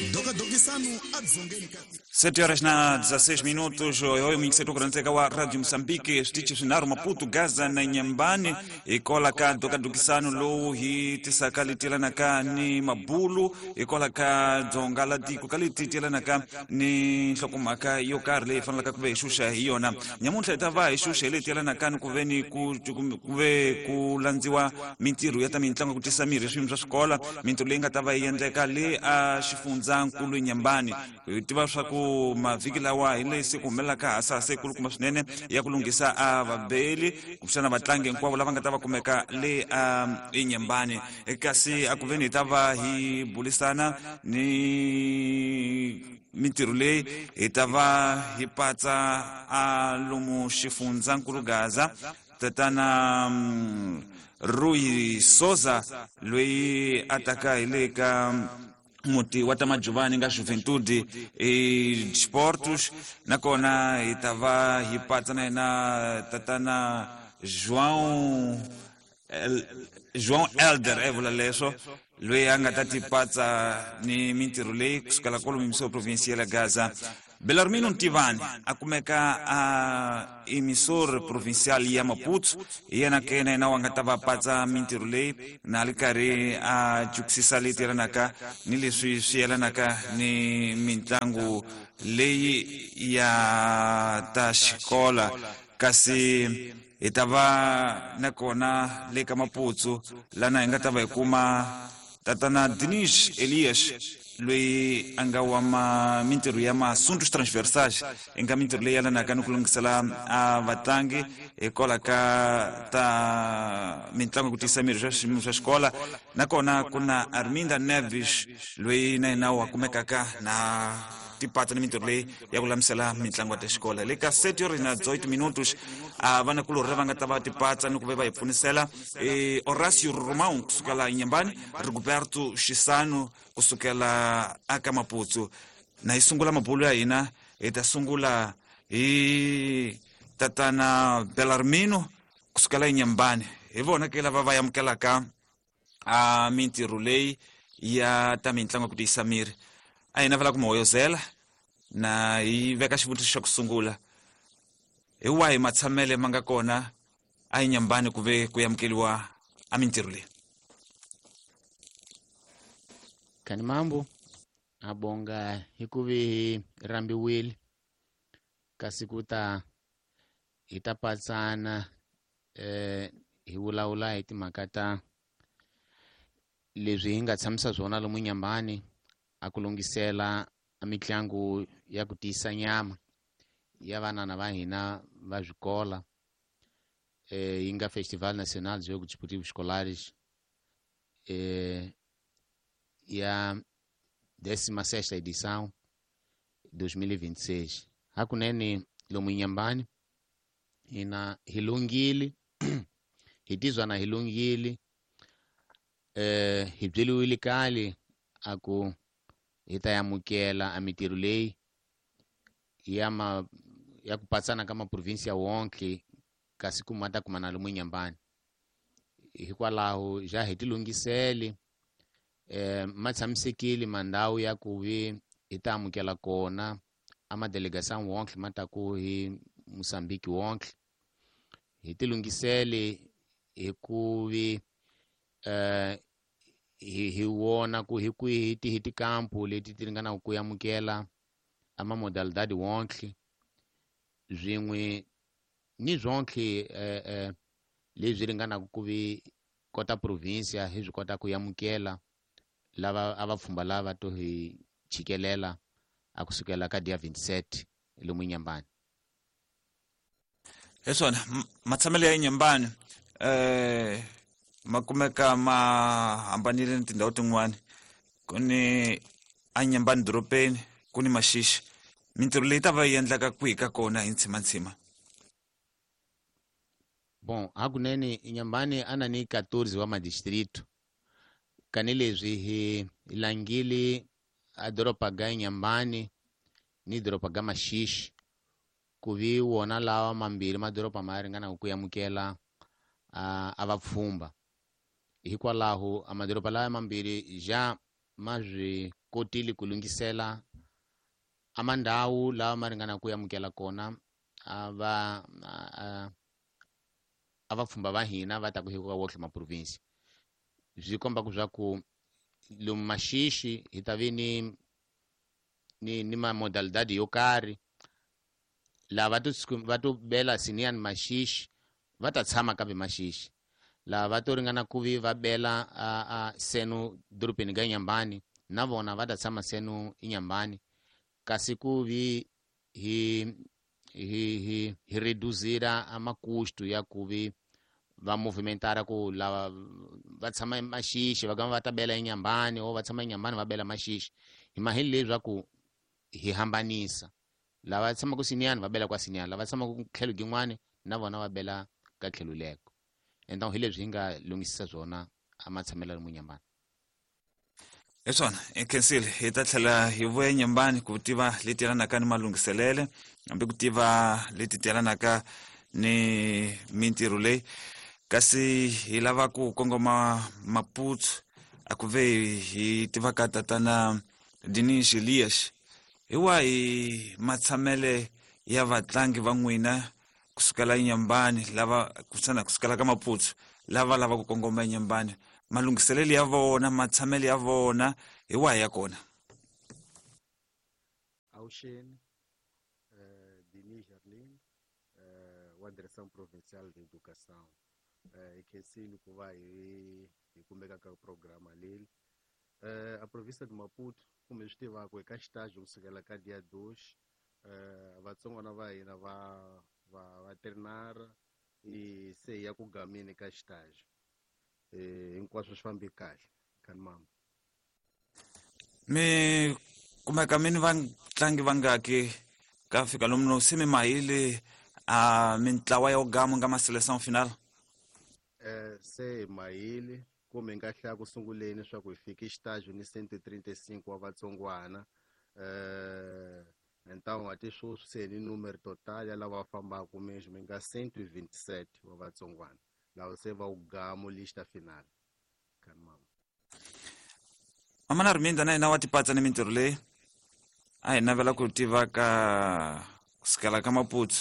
Dokadokisano a dzongeni ka 7 horas na 16 minutos. Oyo mingiseto kuranzeka wa Radio Mozambique, switichi swinharhu Maputo, Gaza na Nyambani. Hikola ka dokadokisano lowu hi tisaka leti yelanaka ni mabulu, hikola ka dzonga la tiko ka leti yelanaka ni nhlokomhaka yo karhi leyi fanelaka ku ve hi xuxa hi yona. Nyamuntlha hi ta va hi xuxa hi leti yelanaka ni ku ve ni ku ve ku landziwa mintirho ya ta mitlangu ku tisa mirhi swiyimo swa swikola, mintirho leyi nga ta va yi endleka le a xifundzankulu Nyambani. Hi tiva swa ku mavhiki lawa hi leyi se ku humelelaka hasahasa yikulukumba swinene ya ku lunghisa a vabeli kumbexana vatlangi hinkwavo lava nga ta va kumeka le a eNyambani. Kasi a ku veni hi ta va hi bulisana ni mintirho leyi, hi ta va hi patsa a lomu xifundzankulu Gaza tatana Rui Soza loyi a taka hi le ka muti wa ta Majuvani nga Juventude e Sportos, nakona hi ta va hi patsa na yena tatana João Elder e vula leswo, loyi a nga ta ti patsa ni mintirho leyi kusukela kwalomu misiwa provinsia ya Gaza. Belarmino Ntivani a kumeka a emissor provincial ya Maputo, hi yena ke na yena wa nga ta va patsa mintirho leyi na ri karhi a jukisisa leyi yelanaka ni leswi swi yelanaka ni mitlangu leyi ya ta xikola. Kasi hi ta va na kona le ka Maputo lana hi nga ta va hi kuma tatana Dinis Elias loyi a nga wa mintirho ya masuntos transversais, i nga mintirho leyi yelanaka ni ku lunghisela a vatlangi hikwalaho ka ta mitlangu ku tiyisa miri swa swiyimo swa xikola. Nakona ku na Arminda Neves loyi na yena wa kumekaka na tipatsa ni mintirho leyi ya ku lamisela mitlangu ya ta xikola. Le ka 7 horas na 18 minutos a vanakulorhi lava nga ta va tipatsa ni ku ve va hi pfunisela Horacio Romão kusukela Inhambane, Rigoberto Xisano kusukela aka Maputo. Na hi sungula mabulu ya hina, hi ta sungula hi tatana Belarmino kusukela Inhambane. Hi vona ke lava va amukelaka a mintirho leyi ya ta mitlangu ku tiyisa miri. A hi navela ku mi hoyozela na hi veka xivutiso xa ku sungula: hi wahi matshamele ma nga kona a Inhambane ku ve ku amukeliwa a mintirho leyi? Kani mambo abonga hikuvi hi rambiwile kasi ku ta hi ta patsana hi vulavula hi timhaka ta leswi hi nga tshamisa swona lomu Inhambane a ku lunghisela a mitlangu ya ku tiyisa nyama ya vanana va hina va swikola, yi nga Festival Nacional de Jogos Desportivos Escolares ya 16ª edição 2026. Hakunene lomu Inhambane hina hi lunghile, hi tizwa na hi lunghile, hi byeliwile kale a ku hi ta amukela a mintirho leyi ya ma ya ku patsana ka maprovinsia wonke kasi ku ma ta kuma na lomu Inhambane. Hikwalaho ja hi tilunghisele, ma tshamisekile mandhawu ya ku vi hi ta amukela kona a madelegação wonke ma ta ku hi Mozambique wonke. Hi tilunghisele hi ku vi hi vona ku hi kwihi hi tikampu leti ti ringanaka ku amukela a ma modalidade wonke swin'we ni swonke leswi ringanaka ku vi kota provinsia hi swi kota ku amukela lava a va pfhumba lava to hi chikelela a kusukela ka dia 27 lomu Inhambane. Hi swona matshamelo ya Inhambane ma kumeka ma hambanile ni tindhawu tin'wani. Ku ni Inhambane dorobeni, ku ni Maxixi. Mintirho leyi ta va yi endlaka kwihi ka kona hi ntshimantsima? Bon, hakunene Inhambane a na ni 14 wa madistrito. Kani leswi hi langile a doroba ga Inhambane ni doroba ga Maxixi ku vi wona lawa mambirhi madoroba ma ringanaka ku amukela a vapfhumba. Hikwalaho a madoroba lawa mambirhi ja ma swi kotile ku lunghisela a mandhawu lawa ma ringana ku amukela kona a va a vapfhumba va hina va ta ku hi ka wohle maprovinsi. Swi komba ku swa ku lomu Maxixi hi ta ve ni ma modalidade yo karhi, lava va to bela Siniyani Maxixi va ta tshama kambe Maxixi, lava va to ringana ku vi va bela a seno dorobeni ka Inhambane na vona va ta tshama seno Inhambane, kasi ku vi hi reduzira a makusto ya ku vi va movimentara ku lava va tshama Maxixi va gama va ta bela Inhambane o va tshama Inhambane va bela Maxixi. Hi maheli leswaku hi hambanisa lava tshamaka Siniyani va bela kwa Siniyani, lava tshamaka tlhelo gin'wani na vona va bela ka tlhelo leko. Então hi leswi hi nga lunghisisa swona a matshamelo lomu Inhambane. Hi swona hi khensile, hi ta tlhela hi vuya Inhambane ku tiva leti yelanaka ni malunghiselele hambi ku tiva leti yelanaka ni mintirho leyi, kasi hi lava ku kongoma Maputo a ku ve hi tivaka tatana Dinis Elias. Hi wahi matshamele ya vatlangi va n'wina kusukela Inhambane lava kusana kusukela ka Maputo lava lava ku kongoma Inhambane, malunghiselelo ya vona, matshamele ya vona hi wahi ya kona? Avuxeni, Denis Jarlin, wa Direção Provincial de Educação. Hi khensile ku va hi kumeka ka programa leyi. A província de Maputo, kumbe swi tivaka hi ka xitaji kusukela ka dia 2, vatsongwana va hina va trinara i se ya ku gamini ka xitaji. Hinkwaswo swi fambi kahle kani mama. Mi kumeka mi ni vatlangi vangaki ka fika lomu no se mi mahile a mintlawa ya gama nga ma seleção final? Se hi mahile kumbe nga hlaya ku sunguleni swa ku hi fike xitaji ni 135 wa vatsongwana. Então ati sweswi se ni numero total ya lava fambaka mesmo mi nga 127 wa vatsongwana lava se va ugamo lista final kani mama. Mama na Arminda na yena wa tipatsa ni mintirho leyi a hi navela ku tiva ka kusukela ka Maputo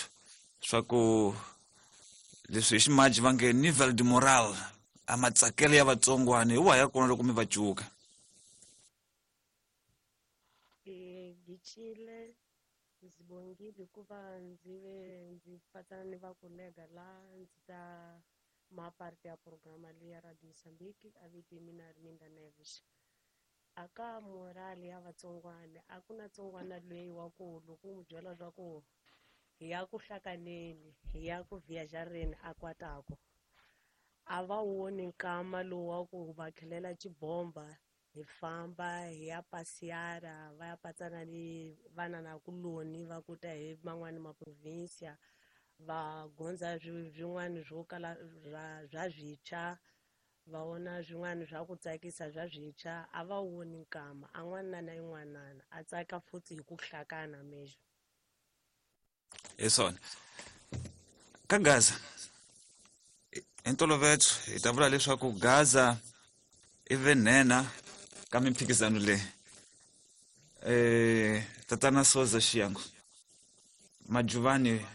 swa ku leswi hi ximaji va nge nivel de moral a matsakelo ya vatsongwana hi wahi ya kona loko mi va cuka? Gicile ndzi bongile hikuva ndzi ve ndzi patsana ni vakolega la ndzi ta ma parte ya programa leyi ya Radio Mozambique a vito hi mina Arminda Neves. Aka morale ya vatsongwana a ku na tsongwana loyi wa ku loko u n'wi byela swa ku hi ya ku hlakaneni hi ya ku viajareni a kwatako a va woni nkama lowu wa ku va khelela xibomba hi famba hi ya pasiara va ya patsana ni vana na kuloni va kuta hi man'wani maprovinsia va gondza swin'wana swo kala swa swintshwa va vona swin'wana swa ku tsakisa swa swintshwa a va woni nkama a n'wana na yin'wanana a tsaka futhi hi ku hlakana mesmo. Hi swona ka Gaza hi ntolovelo hi ta vula leswaku Gaza i venhena ka mimphikizano leyi. Tatana Soza Xiyango, Majuvani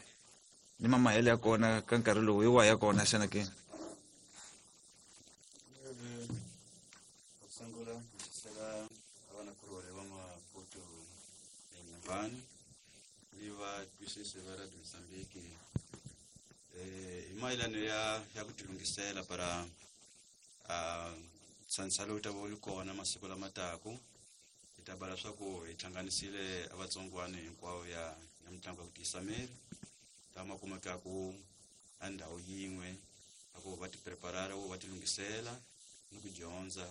ni mamahele ya kona ka nkarhi lowu hi wahi ya kona xana ke? Sungula ndzi vanakulorhi va Maputo eNyambani ni va twisisi va Radio Mozambique hi mayelana ya ku tilunghisela para ntshantsha lowu ta va wu ri kona masiku lama taku. Hi ta bala swa ku hi hlanganisile vatsongwana hinkwavo ya mitlangu ya ku tiyisa miri lama kumekaku a ndhawu yin'we a ku va ti preparara va ti lunghisela ni ku dyondza.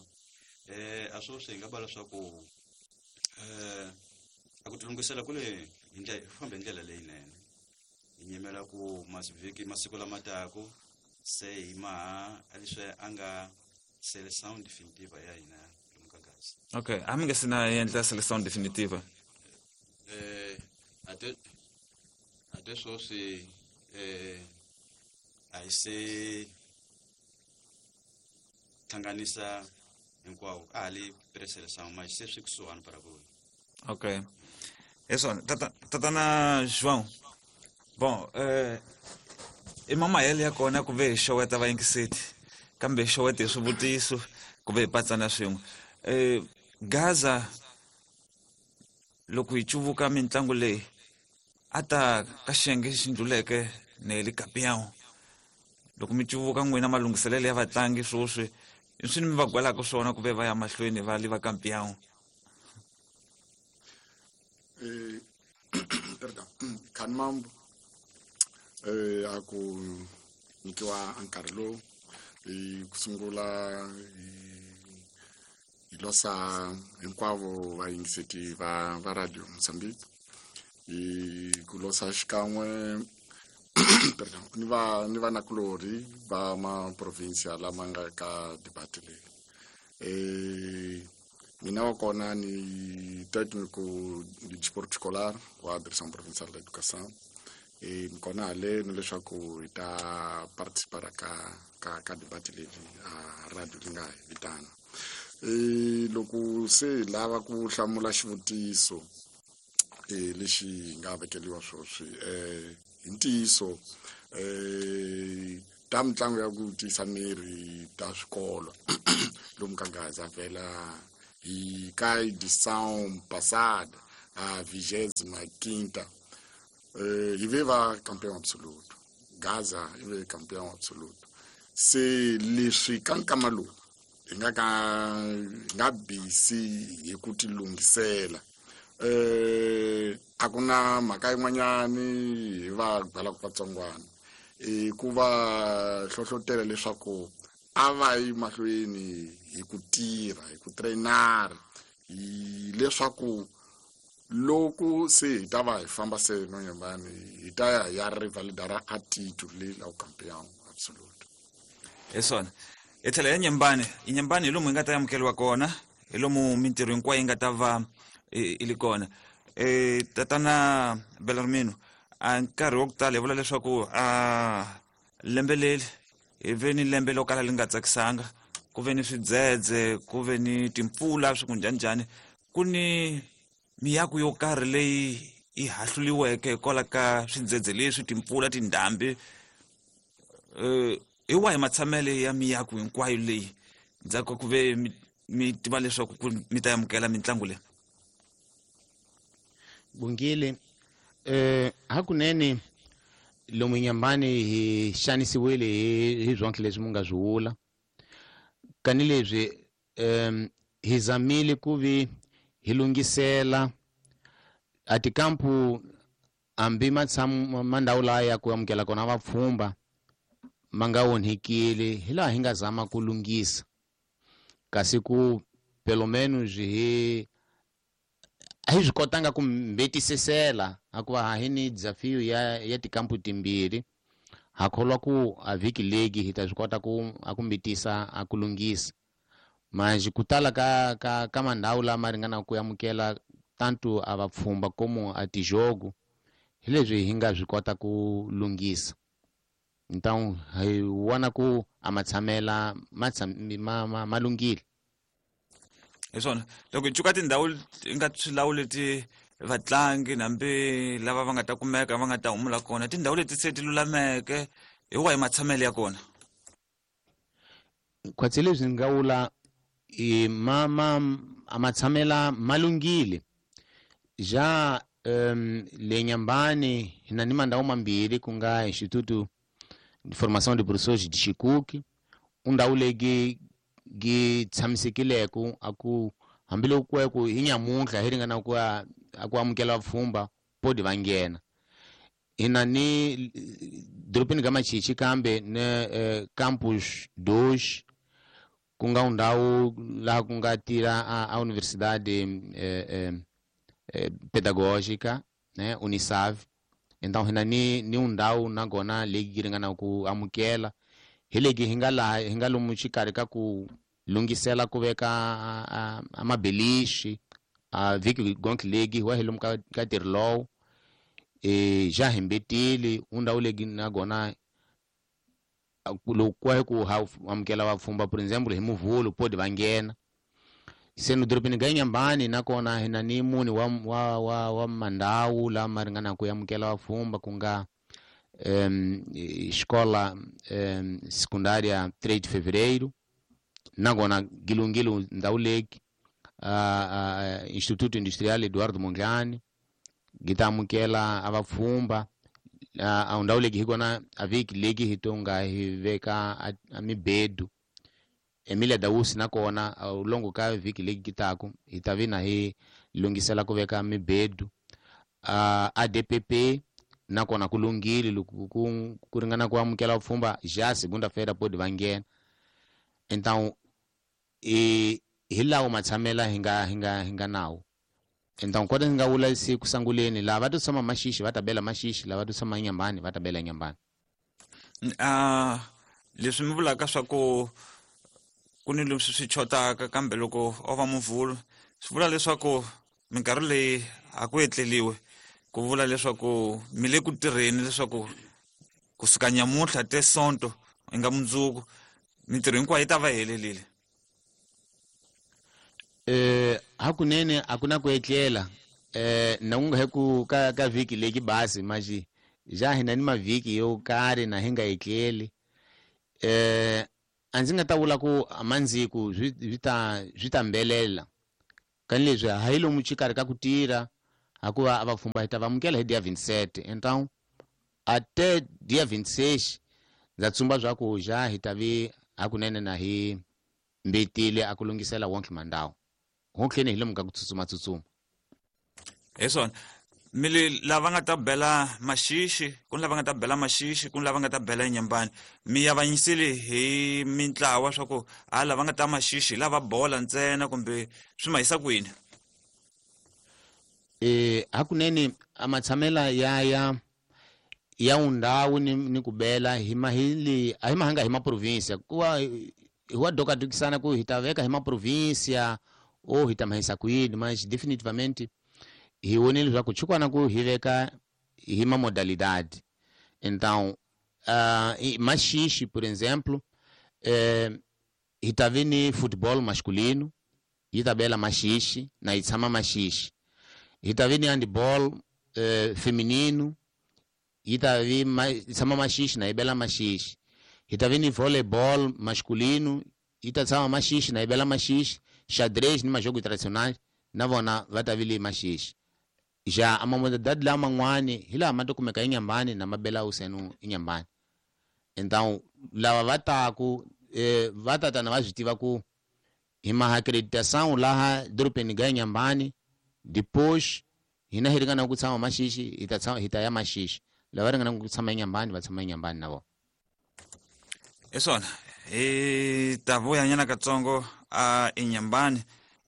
A sweswi hi nga bala swa ku a ku tilunghisela kule hi ndlela fambe hi ndlela leyinene. Hi nyimela ku masivhiki masiku lama taku se hi maha leswi a nga seleção definitiva ya hina lomu ka Gaza. Okay, a mi nga se na endla seleção definitiva? Ate sweswi a hi se hlanganisa Hinkwavo a ha li preseleção, mas se swi kusuhani para ku. Ok, é só tatana João. Bom, i mamayele ya kona ku ve hi xeweta vayingiseti, kambe hi xewete hi swivutiso ku ve hi patsana swin'we. Gaza loko hi cuvuka mitlangu leyi a ta ka xiyenge xi ndluleke ne le campeão, loko mi cuvuka n'wina malunghiselelo ya vatlangi swoswi i swi mi va gwelaka swona ku ve va ya mahlweni va li va campeão? Perdão, Khanmambo, a ku nyikiwa nkarhi lowu hi ku sungula hi losa hinkwavo vayingiseti va Radio Mozambique, hi ku losa xikan'we, perdão, ni vanakulorhi va maprovinsia lama nga ka debate leyi. Mina wa kona ni técnico de desporto escolar wa Direção Provincial da Educação. Ni kona haleni leswaku hi ta participar ka debate leyi a radio li nga hi vitana. Loko se hi lava ku hlamula xivutiso lexi hi nga vekeliwa swoswi, hi ntiyiso ta mitlangu ya ku tiyisa miri ta swikolo lomu ka Gaza vhela hi ka edição passada, a 25ª, hi ve va campeão absoluto. Gaza i ve campeão absoluto. Se leswi ka nkama lowu hi nga ka hi nga busy hi ku ti lunghisela, a ku na mhaka yin'wanyani hi va byalaka vatsongwana i ku va hlohlotela leswaku a va yi mahlweni hi ku tirha, hi ku trainara, hi leswaku loko se hi ta va hi famba se nonyembani hi ta ya hi ya rivalidara a titulu leyi la ku campeão absoluto. Hi swona, hi tlhela ya Nyembani. I Nyembani hi lomu hi nga ta amukeriwa kona, hi lomu mintirho hinkwayo yi nga ta va i li kona. Tatana Belarmino, a nkarhi wa ku tala hi vula leswaku a lembe leri hi ve ni lembe lo kala li nga tsakisanga, ku ve ni swidzedze, ku ve ni timpfula, swi ku njhaninjhani, ku ni miako yo karhi leyi yi hahluliweke hikwalaho ka swidzedze leswi, timpfula, tindhambi. Hi wahi matshamele ya miako hinkwayo leyi ndzhaku ka ku ve mi tiva leswaku ku mi ta amukela mitlangu leyi? Bungile, hakunene lomu Nyambani hi xanisiwile hi swonke leswi mu nga swi vula. Kani leswi hi zamile ku vi hi lunghisela a tikampu hambi mandhawu laya ku amukela kona vapfhumba ma nga onhekile, hi laha hi nga zama ku lunghisa, kasi ku pelo menos hi a hi swi kotanga ku mbetisisela, hikuva ha hi ni desafio ya tikampu timbirhi. Ha kholwa ku a vhiki legi hi ta swi kota ku a ku mbetisa a ku lunghisa. Manje ku tala ka mandhawu lama ringanaka ku amukela tanto a vapfhumba como a tijogo, hi leswi hi nga swi kota ku lunghisa. Então hi vona ku a matshamela ma lunghile. Hi swona, loko hi cuka tindhawu hi nga swi leti vatlangi hambi lava va nga ta kumeka va nga ta humula kona, tindhawu leti se ti lulameke, hi wahi matshamelo ya kona? Khwatsi leswi ni nga vula i a matshamela ma lunghile. Ja le Nyambani hi na ni mandhawu mambirhi, ku nga Instituto de Formação de Professores de Chicuque, undhawu leyi gi tshamisekileke a ku hambiloko ku ya ku hi nyamuntlha hi ringana ku a ku amukela vapfhumba podi va nghena. Hi na ni dorobeni ka Machichi kambe ne Campus 2, ku nga ndhawu laha ku nga tirha a Universidade Pedagógica, né, Unisav. Então hi na ni ndhawu nakona leyi ringana ku amukela, hi legi hi nga laha hi nga lomu xikarhi ka ku lunghisela ku veka a mabelixi a vhiki gonke legi wa hi lomu ka ntirho lowu. Ja hi mbetile undhawu legi nakona loko ku hi ku ha amukela vapfhumba, por exemple hi Muvhulu podi va nghena. Seno dorobeni ga Inhambane nakona hi na ni mune wa mandhawu lama ringana ku amukela vapfhumba, ku nga escola secundária 3 de Fevereiro, nakona Gilungilu ndhawu leki, Instituto Industrial Eduardo Mondlane gi ta amukela a vapfhumba. A ndhawu leki hi kona a vhiki leki hi to nga hi veka a mibedu. Emilia Dausi nakona ulongo ka vhiki leki taku hi ta vi na hi lungisela ku veka mibedu. ADPP nakona ku lunghile loko ku ringana ku amukela vapfhumba já segunda-feira pode va nghena. Então hi lawo matshamela hi nga nawo. Então kota hi nga vula se ku sunguleni, lava va to tshama Maxixi va ta bela Maxixi, lava to tshama Inhambane va ta bela Inhambane. Leswi mi vulaka swa ku ku ni leswi swi chotaka, kambe loko o va muvhulu swi vula leswaku minkarhi leyi a ku etleliwe, ku vula leswaku mi le ku tirheni leswaku kusuka nyamuntlha te sonto i nga mundzuku mintirho hinkwayo yi ta va helelile. Hakunene a ku na ku etlela. Na ku nga he ku ka vhiki leki basi maxi ja hina ni mavhiki yo karhi na hi nga etleli. A ndzi nga ta vula ku amandziku swi ta mbelela kani leswi a hi lomu xikarhi ka ku tirha, hikuva a vapfhumba hi ta va amukela hi dia 27. Então até dia 26 ndza tsumba swa ku ja hi ta vi hakunene na hi mbetile a ku lunghisela wonke mandhawu honkleni hi lomu ka ku tsutsuma tsutsuma. Hi swona mi le lava nga ta bela Maxixi, ku ni lava nga ta bela Maxixi, ku ni lava nga ta bela Inhambane, mi avanyisile hi mintlawa swa ku a lava nga ta Maxixi lava bola ntsena kumbe swi ma yisa kwini? Hakunene a matshamela ya undhawu ni ku bela hi mahili a hi mahanga hi maprovinsia, kuva hi wa dokatukisana ku hi ta veka hi maprovinsia o hi ta mahisa kwini, mas definitivamente hi vonile leswaku chukwana ku hi veka hi ma modalidade. Então Maxixi, por exemplo, hi ta vi ni futebol masculino, yi ta bela Maxixi na yi tshama Maxixi. Hi ta vi ni handball feminino, yi ta vi tshama Maxixi na yi bela Maxixi. Hi ta vi ni volleyball masculino, yi ta tshama Maxixi na yi bela Maxixi. Xadrez ni majogo tradicionais na vona va ta vi le Maxixi. Ja a mamodalidade laman'wani hi laha ma to kumeka Inhambane na ma bela usenu Inhambane. Então lava va taku va tatana va swi tiva ku hi maha acreditação laha dorobeni ga Inhambane, depois hina hi ringana ku tshama Maxixi hi ta tshama hi ta ya Maxixi, lava ringana ku tshama Inhambane va tshama Inhambane na vona. Hi swona hi ta vuyanyana katsongo a Inhambane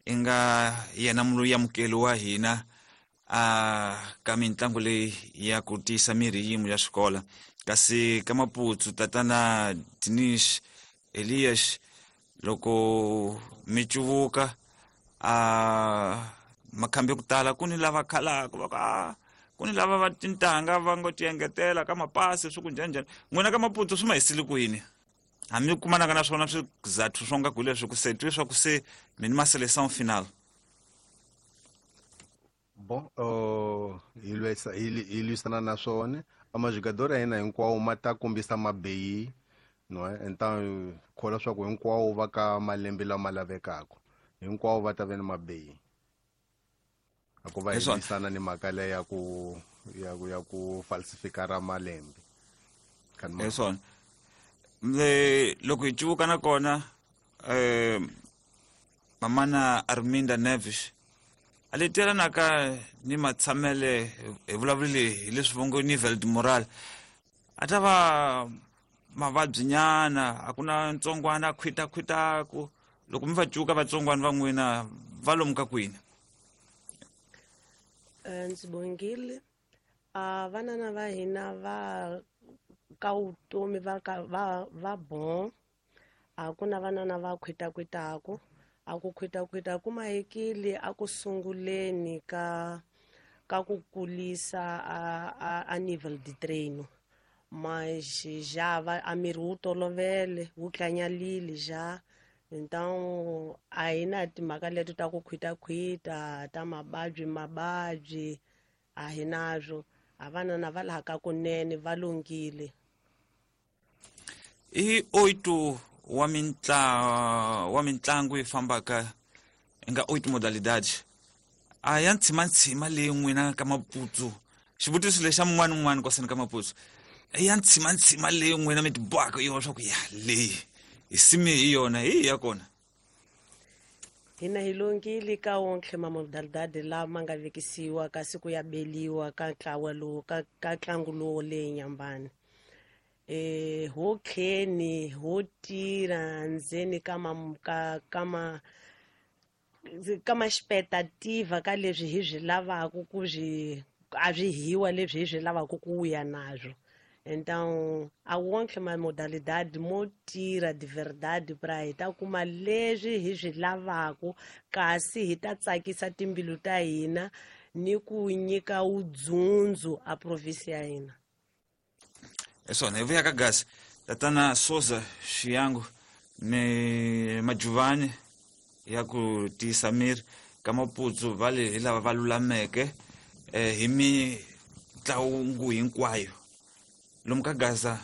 i nga yena muluyamukeli wa hina a ka mitlangu leyi ya ku tiyisa miri yin'we ya xikolo. Kasi ka Maputsu tatana Dinish Elias, loko mi cuvuka a makhambi ya ku tala ku ni lava khalaka va ku a ku ni lava va tintangha va ngo ti engetela ka mapasi swi ku njhani njhani, n'wina ka Maputsu swi ma hisile kwini? Hambi kumanaka na swona swizathu swo nga ku leswi ku se twi swa ku se mi ni ma seleção final. Bon, hi lwisana na swona. A majogador ya hina hinkwawo ma ta kombisa mabeyi, no, então kholwa swa ku hinkwawo va ka malembe lama lavekaka, hinkwawo va ta ve ni mabeyi. A ku va hi lwisana ni mhaka leyi ya ku falsifikara malembe. Hi swona. Loko hi cuvuka na kona mamana Arminda Neves a le telanaka ni matshamele hi vulavulile hi leswi va ngo nivel de moral, a ta va mavabyi nyana, a ku na ntsongwana a khwitakhwitaku. Loko mi va cuka vatsongwana va n'wina va lomu ka kwini? Ndzi bongile. Vanana va hina va ka vutomi va ka va bon, a ku na vanana va khwitakhwitaku. A ku khwitakhwita ku mahekile a ku sunguleni ka ku kulisa a nível de treino, mas já va a miri wu tolovele wu tlanyalile já. Então a hi na timhaka leti ta ku khwitakhwita ta mababyi mababyi, a hi nazwo. A vanana va laha ka kunene va lunghile. I 8 wa wa mintlangu yi fambaka nga 8 modalidades a ya ntshimantsima leyi n'wina ka Maputsu. Xivutiso lexa mun'wana un'wana kwaseni ka Maputsu, ya ntshimantsima leyi n'wina mi tibohaka yona swa ku ya leyi hi sime hi yona hi ya kona? Hina hi lunghile ka wonke mamodalidade lama nga vekisiwa kasi ku ya beliwa ka ntlawa lowu ka ntlangu lowu leyi Nyambani. Ho kheni ho tirha ndzeni ka ka ma expectativa ka leswi hi swi lavaka ku swi a swi hiwa leswi hi swi lavaka ku ya nazwo. Então a wonke ma modalidade mo tirha de verdade pra hi ta kuma leswi hi swi lavaka, kasi hi ta tsakisa timbilu ta hina ni ku nyika wudzundzu a province ya hina. Swona hi vuya ka Gaza, tatana Soza Xiyangu ni Majuvani ya ku tiyisa miri ka Maputsu va le hi lava va lulameke hi mitlangu hinkwayo lomu ka Gaza.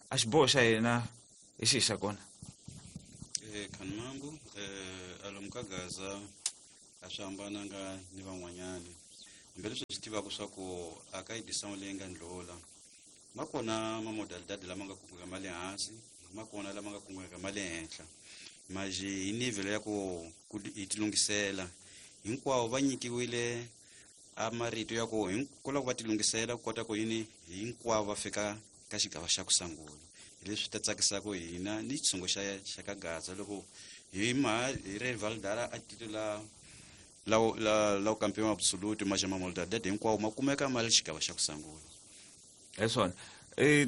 A xiboho xa hina hi xihi xa kona? Khanimambu, alomu ka Gaza a swi hambananga ni van'wanyani, hambileswi swi tivaka swa ku a ka edição leyi nga ndlula ma kona mamodalidade lama nga kungeka ma le hansi, ma kona lama nga kungeka ma le henhla, maji hi nivel ya ku hi tilunghisela hinkwawo va nyikiwile a marito ya ku hinkwawo va tilunghisela ku kota ku yini hinkwavo va fika ka xigava xa ku sungula. Hi leswi ta tsakisaka hina ni xitshungu xa ka Gaza loko hi ma hi ri validara a titula la campeão absoluto, mas ma modalidade hinkwawo ma kumeka ma le xigava xa ku sungula. Hi swona.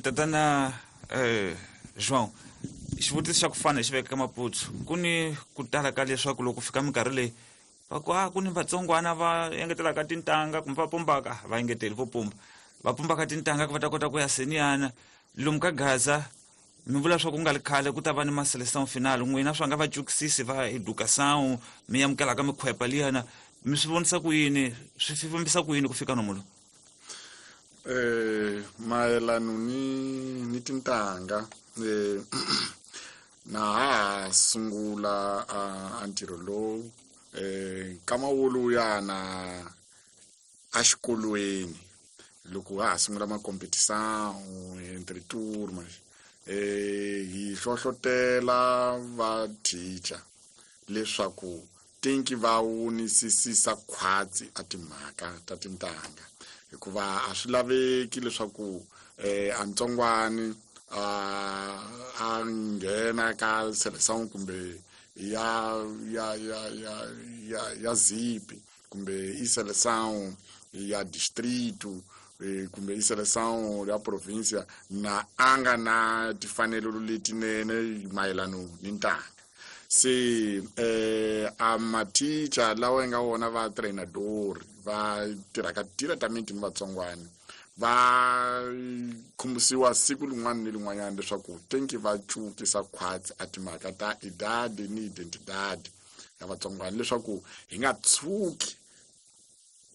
Tatana João, xivutiso xa ku fana hi xi veka ka Maputsu, ku ni ku tala ka leswaku loko fika minkarhi leyi va ku a ku ni vatsongwana va engetelaka tintanga kumbe va pumbaka, va engeteli vo pumba, va pumbaka tintanga ku va ta kota ku ya seniyana lomu ka Gaza. Mi vula swa ku nga ri khale ku ta va ni ma-seleção final, n'wina swa nga va cukisisi va educação mi amukelaka mikhwepa liyana, mi swi vonisa ku yini, swi fambisa ku yini ku fika nomu lowu? Mayelano ni tintanga, na ha sungula a ntirho lowu nkama woluyana a xikolweni loko ha ha sungula ma-competição entre turmas, hi hlohlotela va teacher leswaku tinki va wunisisisa khwatsi a timhaka ta tintanga, hikuva a swi laveki leswaku a ntsongwani a nghena ka seleção kumbe ya ya ya ya ya ya zipi kumbe i seleção ya distrito kumbe i seleção ya provincia na a nga na timfanelo letinene mayelano ni ntanga. Se a mathicha lawa yi nga wona va treinador va tirhaka diretamente ni vatsongwana va khumbisiwa siku lin'wana ni lin'wanyana leswaku tenki va cukisa khwatsi a timhaka ta idade ni identidade ya vatsongwana, leswaku hi nga tshuki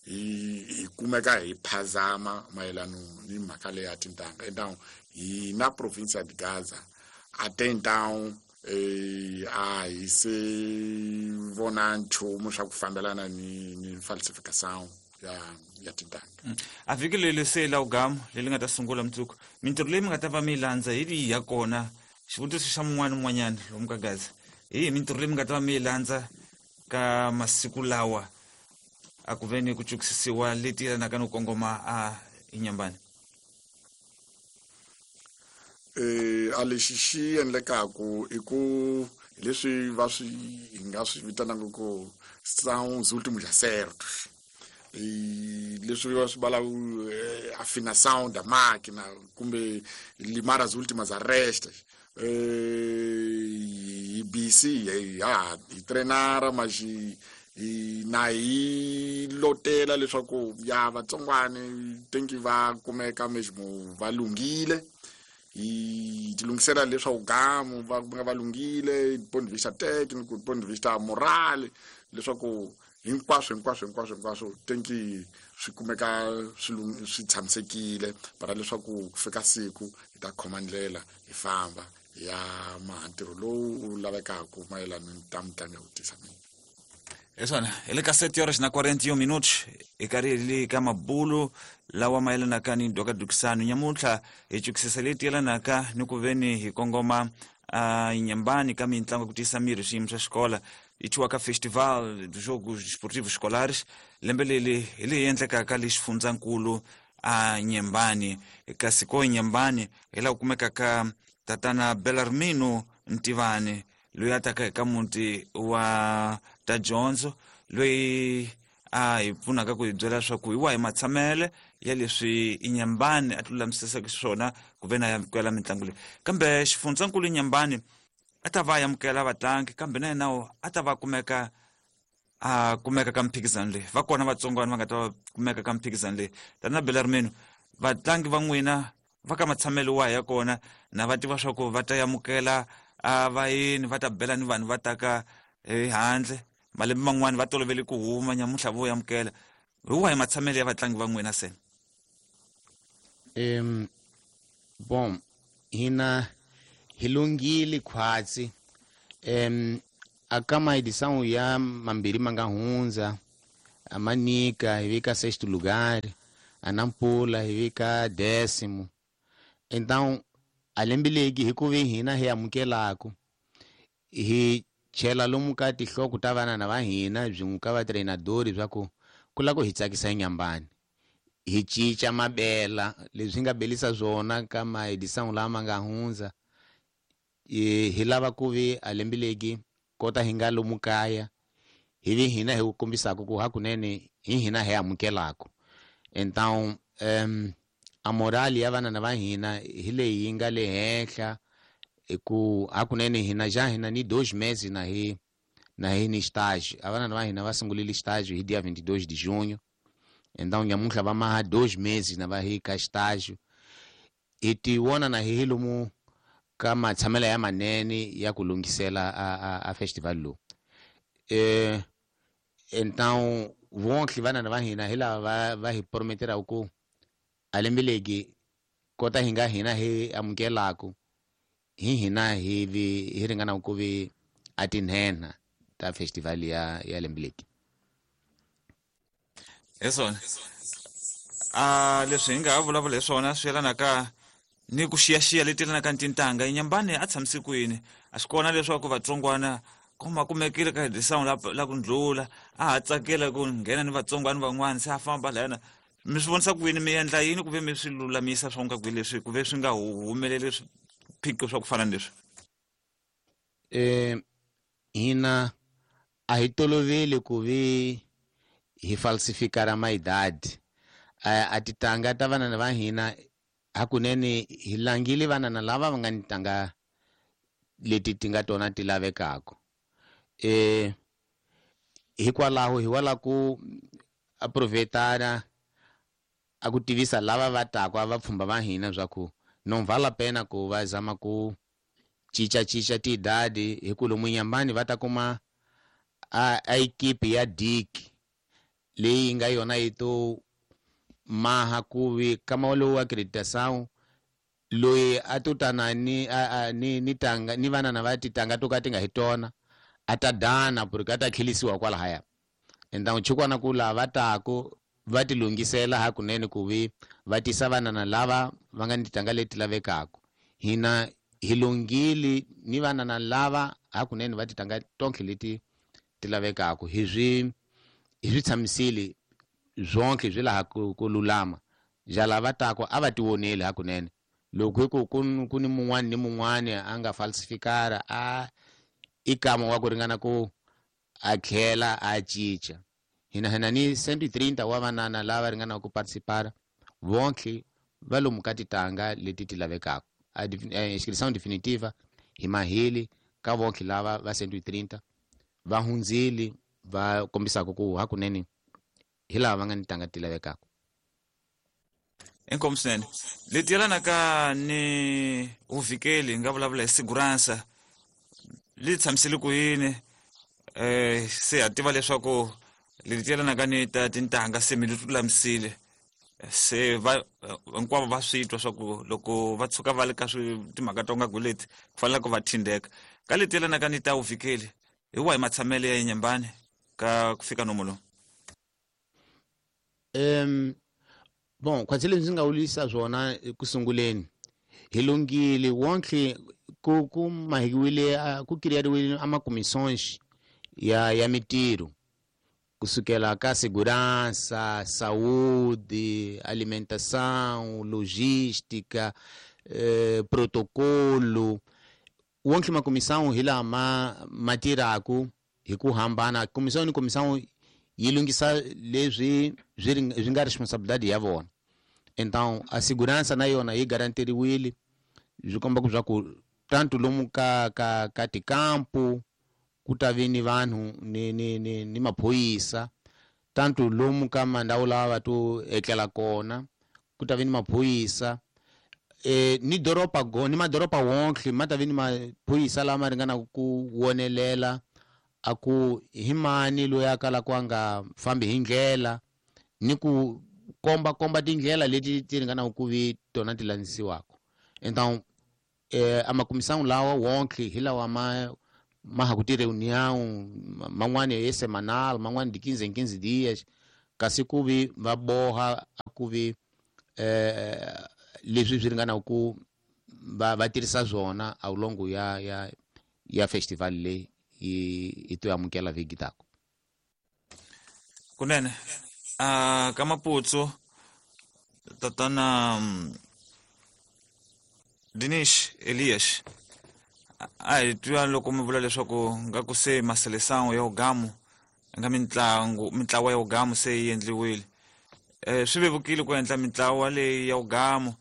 hi kumeka hi phazama mayelano ni mhaka leyi ya tintanga. Então hi na provincia de Gaza até então a hi se vona nchumu swa ku fambelana ni falsificação ya tintanga. A vhiki leri se la ugamu leri nga ta sungula mundzuku, mintirho leyi mi nga ta va mi yi landza hi lihi ya kona? Xivutiso xa mun'wana un'wanyana lomu ka Gaza, hi yihi mintirho leyi mi nga ta va mi yi landza ka masiku lawa a ku ve ni ku cukisisiwa leti yelanaka ni ku kongoma a Inyambani? A lexi xi endlekaku i ku leswi va swi hi nga swi vitanaka ku são os últimos acertos, leswi va swi vala afinação da máquina kumbe limar as últimas arestas. Hi busy ha hi treinara mas na hi lotela leswaku ya vatsongwani tenki va kumeka mesmo va lunghile. Hi tilunghisela leswaku gamu va nga va lunghile ponto de vista técnico, ponto de vista moral, leswaku hinkwaswo hinkwaswo hinkwaswo hinkwaswo tenki swi kumeka swi tshamisekile para leswaku ku fika siku hi ta khoma ndlela hi famba hi ya maha ntirho lowu wu lavekaka mayelana ni ta mitlangu ya ku tisa miri. Hi swona, hi le ka 7 horas na 41 minutos, hi karhi hi le ka mabulo lawa mayelanaka ni dokadukisano. Nyamuntlha hi chukisisa leti yelanaka ni ku veni hi kongoma Inhambane ka mitlangu ya ku tiyisa miri swiyimo swa xikola yi thyiwaka Festival dos Jogos Desportivos Escolares. Lembe leri hi leyi endlekaka le xifundzankulu a Nyembani, kasi ko Nyembani hi laha ku kumekaka tatana Belarmino Ntivani, loyi a taka eka muti wa ta dyondzo, loyi a hi pfunaka ku hi byela leswaku hi wahi matshamele ya leswi Inhambane a tilulamisisaka xiswona ku ve na amukela mitlangu leyi. Kambe xifundzankulu Inhambane a ta va amukela vatlangi, kambe na yena a ta va kumeka a kumeka ka mphikizano leyi. Va kona vatsongwana va nga ta va kumeka ka mphikizano leyi. Tana Belarmino, vatlangi va n'wina va ka matshamelo wahi ya kona, na va tiva swa ku va ta amukela a vayeni, va ta bela ni vanhu va taka ehandle? Malembe man'wani va tolovele ku huma, nyamuntlha vo amukela. Hi wahi matshamelo ya vatlangi va n'wina se? Bom, hina hi lunghile khwatsi. Aka maedição ya mambirhi ma nga hundza, a Manica hi vika sexto lugar, a Nampula hi vika décimo. Então a lembe legi hi ku ve hina hi amukelaku, hi chela lomu ka tinhloko ta vanana va hina byin'we ka vatreinadori swa ku ku lava ku hi tsakisa Inhambane, hi cinca mabela leswi nga belisa swona ka maedição lama nga hundza. Hi lava ku vi a lembe legi kota hi nga lomu kaya, hi vi hina hi kombisaka ku hakunene hi hina hi amukelaku. Então a morali ya vanana va hina hi leyi yi nga le henhla, hi ku hakunene hina ja hina ni 2 meses na hi ni estágio. A vanana va hina va sungurile estágio hi dia 22 de junho. Então nyamuntlha va maha 2 meses na va hi ka estágio. Hi ti vona na hi lomu ka matshamelo ya manene ya ku lunghisela a festival lowu. Então vonke vanana va hina hi lava va hi prometeraku ku a lembe legi kota hi nga hina hi amukelaku, hi hina hi vi hi ringana ku vi a tinhenha ta festival ya lembe legi. Hi swona leswi hi nga ha vulavula hi swona swi yelanaka ni ku xiyaxiya leti yelanaka ni tintangha. Inhambane a tshamise kwini? A swi kona leswaku vatsongwana kuma kumekile ka edição la ku ndlula, a ha tsakela ku nghena ni vatsongwana van'wana, se a famba lahayana. Mi swi vonisa ku yini? Mi endla yini ku ve mi swi lulamisa swa nga kwihi leswi ku ve swi nga humeleli swiphiqo swa ku fana ni leswi? Hina a hi toloveli ku vi hi falsifikara maidadi. A titanga ta vanana va hina hakunene hi langile vanana lava va nga ni tanga leti ti nga tona ti lavekaka. Hikwalaho hi wala ku aproveitana a ku tivisa lava va taka va pfhumba va hina swa ku non vale a pena ku va zama ku cincacinca tiidadi, hi ku lomu Inhambane va ta kuma a equipe ya Dick leyi nga yona yi to maha ku vi kama lowu acreditação loyi a to tana ni ni tanga ni vanana va titanga to ka ti nga hi tona, a ta dana porque a ta khelisiwa kwalahaya. Então chukwana ku lava taku va ti lunghisela hakunene ku vi va tisa vanana lava va nga ni titanga leti lavekaka. Hina hi lunghile ni vanana lava hakunene va titanga tonke leti ti lavekaka. Hi swi tshamisile zonke swi laha ku lulama. Ja lava tako a va ti voneli hakunene. Loko hi ku ku ni mun'wani ni mun'wani a nga falsifikara, a i kama wa ku ringana ku a tlhela a cinca. Hina ni 130 wa vanana lava ringanaka ku participar, vonke va lomu ka titanga leti ti lavekaka. A inscrição definitiva hi maheli ka vonke lava va 130 va hundzile, va kombisaka ku hakunene hi lava va nga ni tanga ti lavekaka. Inkomu swinene. Leti yelanaka ni vuvikeli, hi nga vulavula hi segurança, li tshamisile ku yini? Se ha tiva leswaku leti yelanaka ni ta tintangha se mi lulamisile, se va hinkwavo va swi twa swa ku loko va tshuka va le ka timhaka to nga ku leti ku fanele ku va thindeka. Ka leti yelanaka ni ta vuvikeli, hi wahi matshamelo ya Inhambane ka ku fika nomo lowu? Bon, khwatsi leswi ndzi nga wulisa swona eku sunguleni, hi lunghile wonke ku mahiwile, ku kiriyariwile a makomisões ya mitirho kusukela ka segurança, saúde, alimentação, logística, protocolo. Wonke makomissão hi lama ma tirhaku hi ku hambana. Comissão ni comissão yi lunghisa leswi swi nga responsabilidade ya vona. Então a segurança na yona yi garanteriwile, swi komba ku swa ku tanto lomu ka tikampu ku ta vi ni vanhu ni maphorisa, tanto lomu ka mandhawu lawa va to etlela kona ku ta vi ni maphorisa, ni doroba go ni madoroba wonke ma ta vi ni maphorisa lama ringanaka ku wonelela a ku hi mani loyi a kalaka a nga fambi hi ndlela, ni ku komba tindlela leti ti ringanaka ku vi tona ti landzisiwaka. Então a makomisão lawa wonke hi lawa ma ha ku ti reunião, man'wani ye semanal, man'wani di 15 em 15 dias, kasi ku vi va boha a ku vi leswi swi ringanaka ku va tirhisa swona a longo ya festival leyi hi to amukela vhiki tako. Kunene ka Maputsu, tatana Dinish Elias, a hi twa loko mi vula leswaku nga ku se maseleção ya ugamu nga mitlangu mitlawa ya ugamu se yi endliwile. Swi vevukile ku endla mitlawa leyi ya ugamu,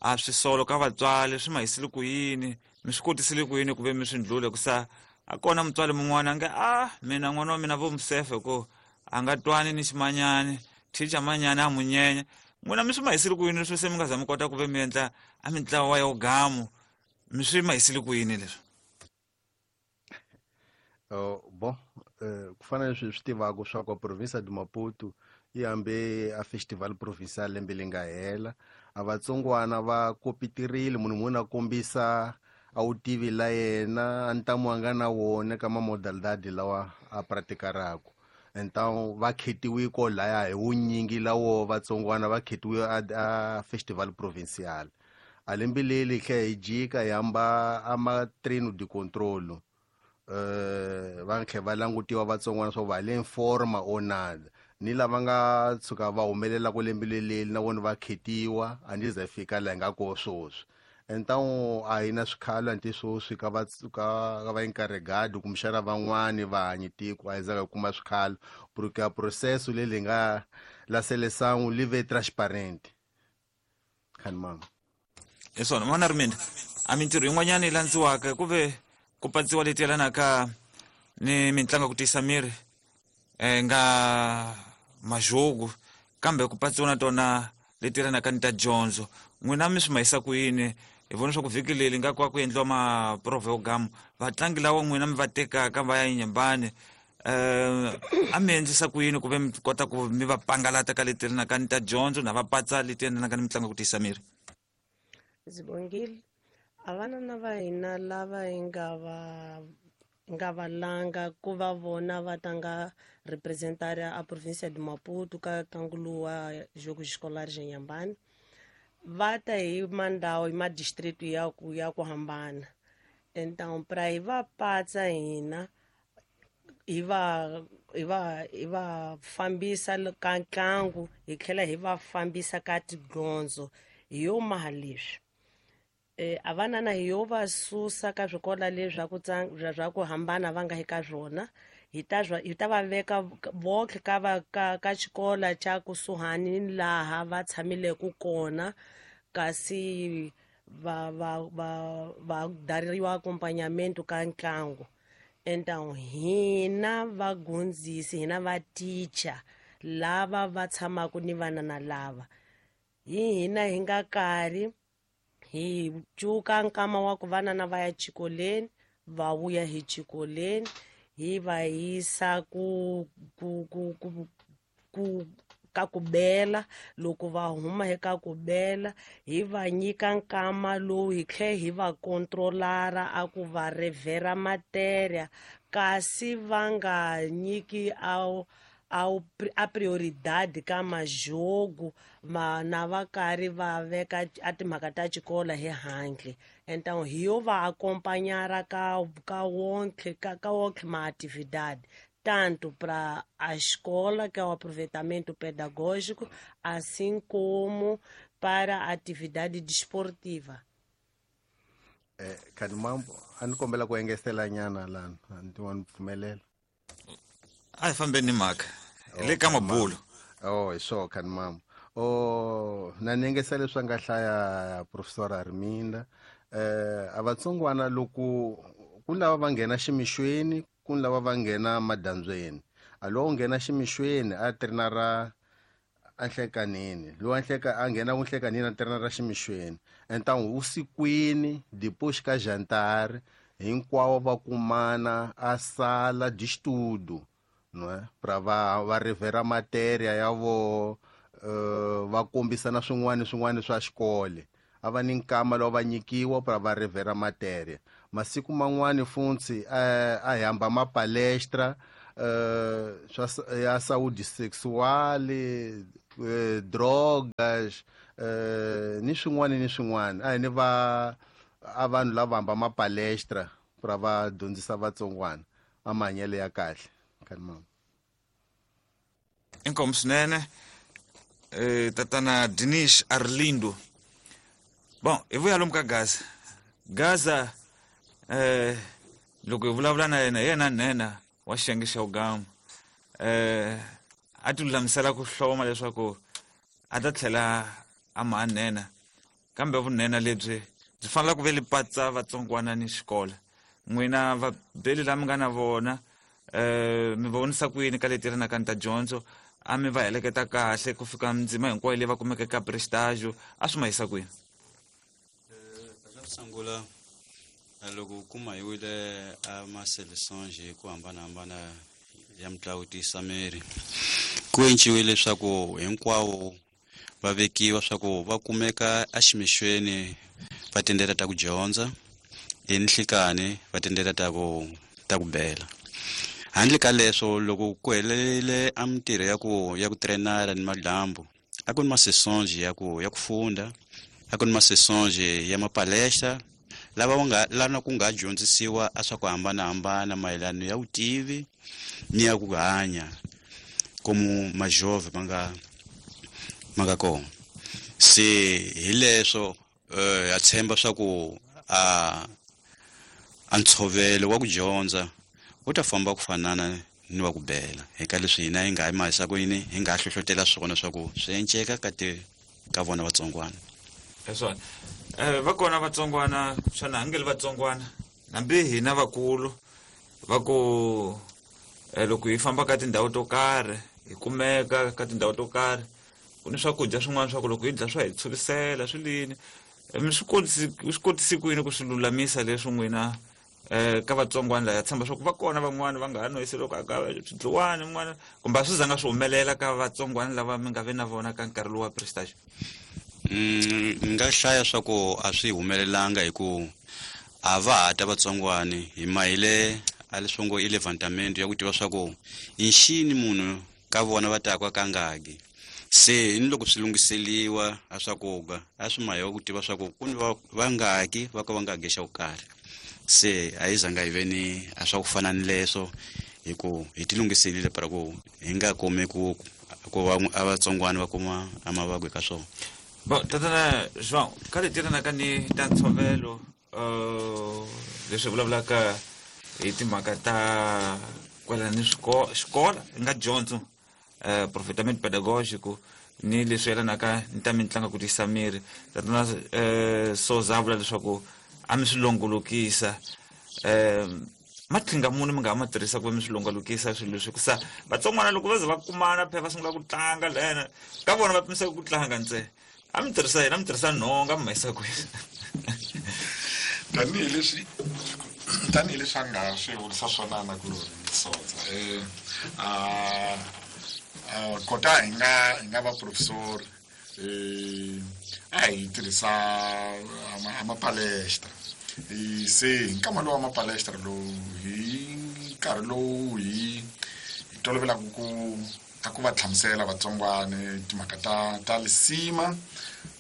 a swi solo ka vatswari, swi mahisile ku yini, mi swi kotisile ku yini ku ve mi swi ndlule? Ku sa a kona mutswari mun'wana a nge a mina n'wana wa mina vo musefe ku a nga twani ni ximanyani, thicha manyani a mu nyenya. N'wina mi swi mahisile ku yini swi se mi nga za mi kota ku ve mi endla a mitlawa ya ugamu? Mi swi mahisile ku yini leswi? Bon, ku fana leswi hi swi tivaka swa ku province de Maputo yi hambe a festival provincial lembe leri nga hela, a vatsongwana va kopitirile, munhu munhu a kombisa a wu tivi la yena a ntamu a nga na wona ka mamodalidade lawa a pratikaraku. Então va khetiwe ko laya hi vunyingi lawo vatsongwana va khetiwe a festival provincial. A lembe leri hi tlhela hi jika hi hamba a ma treino de controlo, va tlhela va langutiwa vatsongwana swa va le forma or nada, ni lava nga tshuka va humelela ku lembe leli na vona va khetiwa, a ndi za fika laha hi nga koho sweswi. Então a hi na swikhalo anti sweswi ka va ka va encarregado kumbexana van'wani va hanyi tiko, a hi zanga hi kuma swikhalo porque a processo leri nga la seleção li ve transparente. Khani mama. Hi swona n'wana ri mina, a mintirho yin'wanyana yi landziwaka ku ve ku patsiwa leti yelanaka ni mitlangu ya ku tiyisa miri, nga majogo, kambe ku patsiwa na tona leti yelanaka ni ta dyondzo. N'wina mi swi mahisa ku yini? Hi vona swa ku vhiki leri nga ku endliwa maprovo ya ugamu, vatlangi lawa n'wina mi va tekaka va ya Inhambane, a mi endlisa ku yini ku ve mi kota ku mi va pangalata ka leti yelanaka ni ta dyondzo na va patsa leti yelanaka ni mitlangu ya ku tiyisa miri? Ndzi bongile a vanana va hina lava hi nga va langa ku va vona va tlanga representar a província de Maputo ka ntlangu lowu wa Jogos Escolares Inhambane, va ta hi mandhawu hi madistrict ya ku hambana. Então pra hi va patsa hina hi va fambisa ka ntlangu, hi tlhela hi va fambisa ka tidyondzo, hi yo maha leswi a vanana hi yo va susa ka swikolo leswi swa ku hambana va nga eka swona, hi ta va veka vonke ka va ka xikolo xa kusuhani ni laha va tshamileke kona, kasi va dariwa acompanhamento ka ntlangu. Então hina vagondzisi, hina va teacher lava va tshamaka ni vanana lava. Hi hina hi nga karhi hi cuka nkama wa ku vanana va ya xikolweni, va vuya hi xikolweni, hi va yisa ku ku ku ku ku ka ku bela. Loko va huma hi ka ku bela, hi va nyika nkama lowu hi tlhe hi va kontrolara a ku va revhera matéria, kasi va nga nyiki a prioridade ka majogo na va karhi va veka a timhaka ta xikolo hi handle. Então hi yo va acompanhar ka wonke ma-atividade, tanto para a escola, que é o aproveitamento pedagógico, assim como para a atividade desportiva. Khanimambo, a ni kombela ku engetela nyana lana, a ni wa ni pfumelela. A hi fambeni ni mhaka hi le ka mabulo. Oh, hi swona, Khanimambo. Oh, na ni engesela leswi a nga hlaya Professor Arminda. A vatsongwana loko ku lava va nghena ximixweni, ku lava va nghena madyambyeni. A lowu nghena ximixweni a trenara enhlekanini, lowu a a nghena ku nhlekanini a trenara ximixweni. Então vusikwini depois ka jantar hinkwavo va kumana a sala de estudo, não é, para va revera matéria ya voho, va kombisana swin'wana swin'wana swa xikolo. A va ni nkama lowu va nyikiwa para va revera matéria. Masiku man'wani funtsi a hi hamba mapalestra swa ya saúde sexual, drogas, ni swin'wana ni swin'wana. A hi ni va a vanhu lava hamba mapalestra para va dyondzisa vatsongwana a mahanyelo ya kahle, Khanimambo. Inkomu swinene, tatana Dinish Arlindo. Bon, hi vuya lomu ka Gaza. Gaza, loko hi vulavula na yena, hi yena nhenha wa xiyenge xa ugama. A ti lulamisela ku hloma leswaku a ta tlhela a ma nhenha, kambe vunhenha lebyi byi fanele ku ve li patsa vatsongwana ni xikolo. N'wina vabeli la mi nga na vona, mi va vonisa ku yini ka leti rinaka ni ta dyondzo? A mi va heleketa kahle ku fika ndzima hinkwayo leyi va kumeke ka prestage? A swi ma yisa kwini? Xa sungula, loko u kuma hi wile a ma-seleções hi ku hambanahambana ya mitlangu tiyisa miri, ku enciwile leswaku hinkwavo va vekiwa swa ku va kumeka eximixweni va tindlela ta ku dyondza, enhlikani va tindlela ta ku bela. Handle ka leswo, loko ku helele a mintirho ya ku trenara ni madyambu, a ku ni ma-sessões ya ku funda, a ku ni ma-sessões ya mapalestra lava va nga lana ku nga dyondzisiwa a swa ku hambanahambana mayelana ya vutivi ni ya ku hanya como majove ma nga kona. Se hi leswo, ha tshemba swa ku a ntshovelo wa ku dyondza wu ta famba ku fanana ni wa ku bela eka leswi hina hi nga hi mahisa ku yini, hi nga hlohlotela swona swa ku swi enceka ka ti ka vona vatsongwana. Hi swona, va kona vatsongwana xana a nge li vatsongwana, hambi hina vakulu va ku loko hi famba ka tindhawu to karhi, hi kumeka ka tindhawu to karhi, ku ni swakudya swin'wana swa ku loko hi dya swa hi tshurisela swi lini. Mi swi kotisi ku yini ku swi lulamisa leswi n'wina ka vatsongwana laya tshemba swa ku va kona van'wani va nga ha nwesi loko aka swidliwani n'wana, kumbe a swi zanga swi humelela ka vatsongwana lava mi nga ve na vona ka nkarhi lowu wa prestage? Ni nga hlaya swa ku a swi humelelanga, hi ku a va ha ta vatsongwani hi mahile a leswi ngo i levantamento ya ku tiva swa ku i nxini munhu ka vona va taka ka ngaki. Se ni loko swi lunghiseliwa a swakudya, a swi mahiwa ku tiva swa ku ku ni vangaki va ka va nga xa ku karhi. Se a yi zanga hi ve ni a swa ku fana ni leswo, hi ku hi ti lunghiselile para ku hi nga kumi ku va a vatsongwana va kuma a mavabyi ka swona. Bon, tatana João, ka leti rinaka ni ta ntshovelo, leswi vulavulaka hi timhaka ta kwala ni xikola hi nga dyondzo, aproveitamento pedagógico, ni leswi yelanaka ni ta mitlangu ku tiyisa miri, tatana Souza a vula leswaku a mi swi longolokisa. Matlhinga muni mi nga ha ma tirhisa ku va mi swi longolokisa swilo leswi ku sa vatsongwana loko va ze va kumana phela va sungula ku tlanga lena ka vona va pimiseka ku tlanga ntsena? A mi tirhisa yini? A mi tirhisa nhonga mi ma yisa kwini? Tanihileswi a nga swi vurisa swona na ku sotsa a kota hi nga va professor, a hi tirhisa ama palestra. Se hi nkama lowu wa mapalestra lowu, hi nkarhi lowu hi tolovelaka ku a ku va hlamusela vatsongwane timhaka ta lisima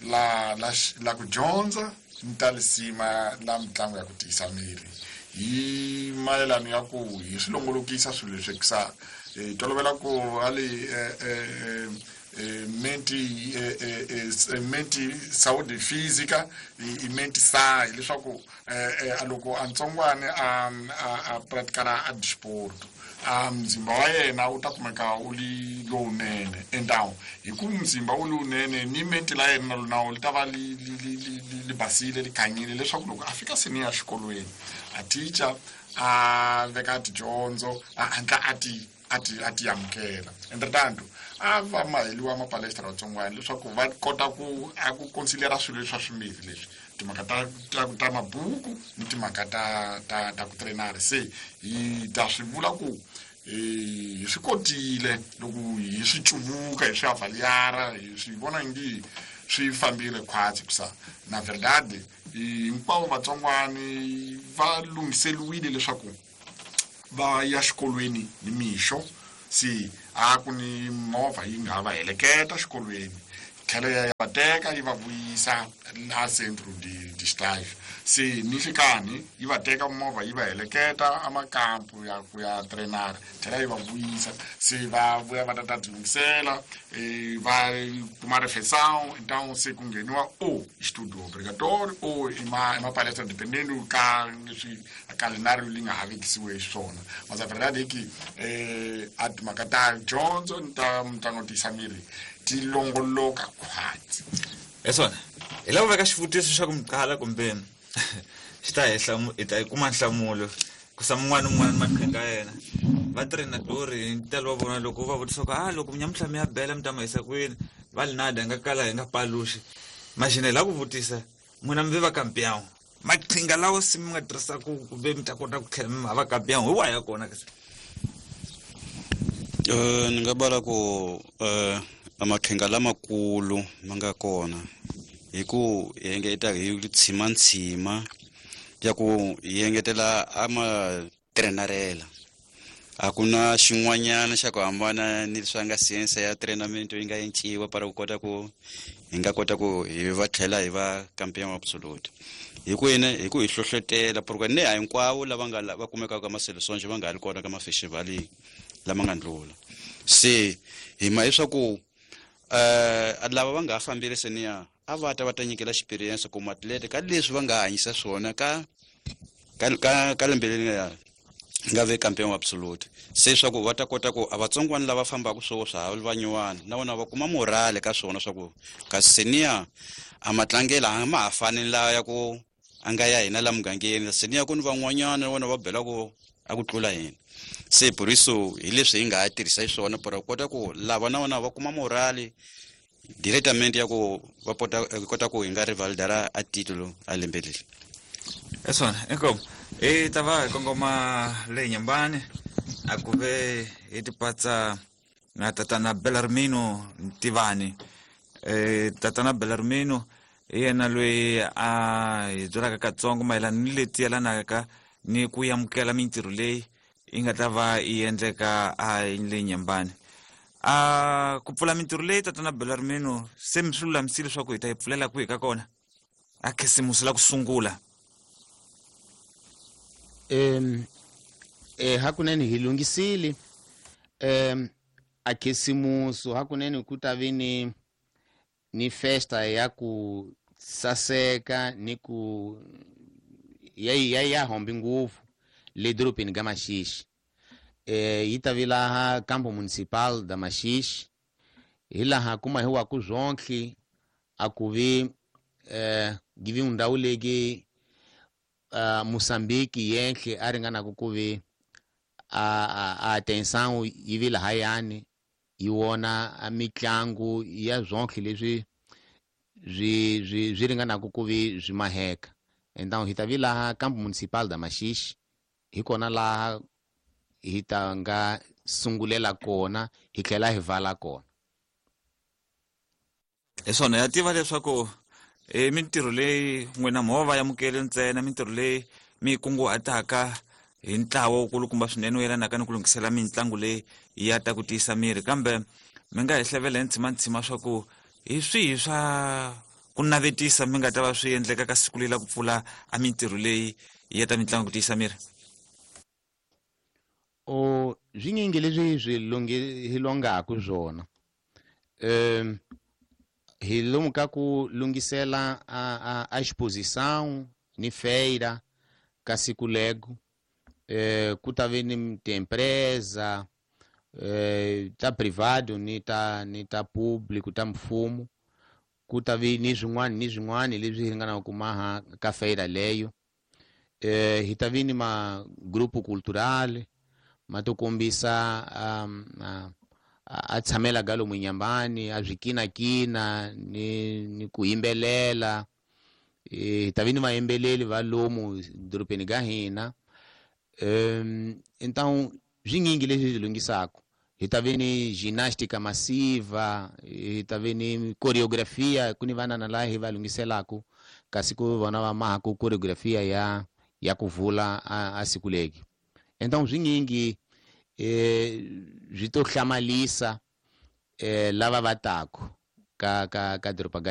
la ku dyondza ni ta lisima la mitlangu ya ku tiyisa miri, hi mayelano ya ku hi swi longolokisa swilo leswi hikusa hi tolovela ku ali menti saúde física i menti sai, leswaku loko a ntsongwane a pratikana a disporto, a mzimba wa yena wu ta kumeka wu li lowunene. Então hi ku mzimba wu lowunene ni menti la yena na li ta va li basile, li khanyile, leswaku loko a fika seni ya xikolweni a teacher a veka tidyondzo a hatla a ti amukela. Entretanto a va maheliwa mapalestra vatsongwana leswaku va kota ku a ku considera swilo leswi swa swimbirhi leswi, timhaka ta mabuku ni timhaka ta ku trainara. Se hi ta swi vula ku hi swi kotile loko hi swi cuvuka, hi swi avaliara, hi swi vona ngi swi fambile khwatsi, kusa na verdade hinkwavo vatsongwani va lunghiseliwile leswaku va ya xikolweni ni mixo. Se a ku ni movha yi nga va heleketa xikolweni, tlhela ya va teka yi va vuyisa la centro de estágio. Se ni nhlikani yi va teka movha yi va heleketa amakampu ya ku ya trainara, tlhela yi va vuyisa. Se va vuya va ta tilunghisela, va kuma refeição. Então se ku ngheniwa o estudo obrigatório ou ima palestra, dependendo ka leswi calendário li nga ha vekisiwe swona. Mas a verdade é que a timhaka ta dyondzo ni ta mitlangu tiyisa miri ti longoloka khwatsi. Hi swona, hi lava ku veka xivutiso xa ku mi qala kumbe xi ta hi hi ta yi kuma nhlamulo kusa mun'wana ni un'wana maqhinga ya yena. Va trenadori hi ntalo wa vona, loko va vutisa ku a loko nyamutlha mi ya bela mi ta ma yisa kwini, va li nada hi nga kala hi nga paluxi. Maxina hi lava ku vutisa n'wina mi ve va campeão, maqhinga lawa se mi nga tirhisaku kumbe mi ta kota ku tlhela mi ma va campeão hi wahi ya kona kasi? Ni nga bala ku amaqhinga lamakulu ma nga kona hi ku hi engeta hi tshima ya ku hi engetela ama trenarela. A ku na xin'wanyana xa ku hambana ni leswi nga science ya treinamento yi nga enciwa para ku kota ku hi nga kota ku hi va tlhela hi va campeão absolute, hi ku yini? Hi ku hi hlohlotela, porque ne a hinkwavo lava nga va kumekaka ka maseleções va nga ha ri kona ka mafestivali lama nga ndlula. Se hi ma leswaku lava va nga ha fambile seniya a va ta va ta nyikela experience ku matlete ka leswi va nga hanyisa swona ka lembe leri nga nga ve campeão absolute. Se swa ku va ta kota ku a vatsongwana lava fambaka swo swa ha va nyuwana na vona va kuma morale ka swona, swa ku kasi seniya a matlangelo a ma ha fani la ya ku a nga ya hina la mugangeni. Seniya ku ni van'wanyana na vona va bela ku a ku tlula hina. Se por isso hi leswi hi nga ha tirhisa xiswona para ku kota ku lava na vona va kuma morale directamente ya ku va kota ku hi nga rivalidara a titulo a lembe leri. Hi swona, inkomu. Hi ta va hi kongoma le Nyambani a ku ve hi tipatsa na tatana Belarmino Ntivani. Tatana Belarmino hi yena loyi a hi byelaka katsongo mayelana ni leti yelanaka ni ku amukela mintirho leyi yi nga ta va yi endleka a le Nyambani a ku pfula mintirho leyi. Tatana Belarmino, se mi swi lulamisile leswaku hi ta yi pfulela kwihi ka kona a khisimusi la ku sungula? Hakunene hi lunghisile a khisimusu. Hakunene ku ta vi ni festa ya ku saseka ni ku ya hombi ngopfu le dorobeni ka Maxixi. Yi ta vi laha campo municipal da Maxixi, hi laha kuma hi wa ku zwonhle a ku vi give ndhawu leki Moçambique yenhle a ringanaka ku vi a atenção yi vi lahayani yi vona a mitlangu ya zwonhle leswi swi swi swi ringanaku ku vi swi maheka. Então hi ta vi laha Campo Municipal da Maxixe, hi kona laha hi ta nga sungulela kona hi tlhela hi vala kona. Hi swona, ya tiva leswaku i mintirho leyi n'wina mo va amukele ntsena, mintirho leyi mi yi kunguhataka hi ntlawa wukulukumba swinene wu yelanaka ni ku lunghisela mitlangu leyi ya ta ku tiyisa miri, kambe mi nga hi hlevela hi ntshimantsima swa ku hi swihi swa ku navetisa mi nga ta va swi endleka ka siku leyi la ku pfula a mintirho leyi ya ta mitlangu ku tiyisa miri? O swinyingi leswi swi hi longaku swona. Hi lomu ka ku lunghisela a exposição ni feira ka siku lego. Ku ta ve ni tiempresa ta privado ni ta público, ta mfumo. Ku ta vi ni swin'wana ni swin'wana leswi hi ringanaka ku maha ka feira leyo. Hi ta vi ni ma grupo cultural ma to kombisa a tshamela ka lomu nyambani, a swi kinakina ni ku yimbelela. Hi ta vi ni vayimbeleri va lomu dorobeni ka hina. Então swinyingi leswi hi lunghisaka. Hi ta vi ni ginástica massiva, hi ta vi ni coreografia, ku ni vanana laha hi va lunghiselaku kasi ku vona va mahaku coreografia ya ku vula a siku leki. Então swinyingi swi to hlamalisa lava va taku ka doroba ka.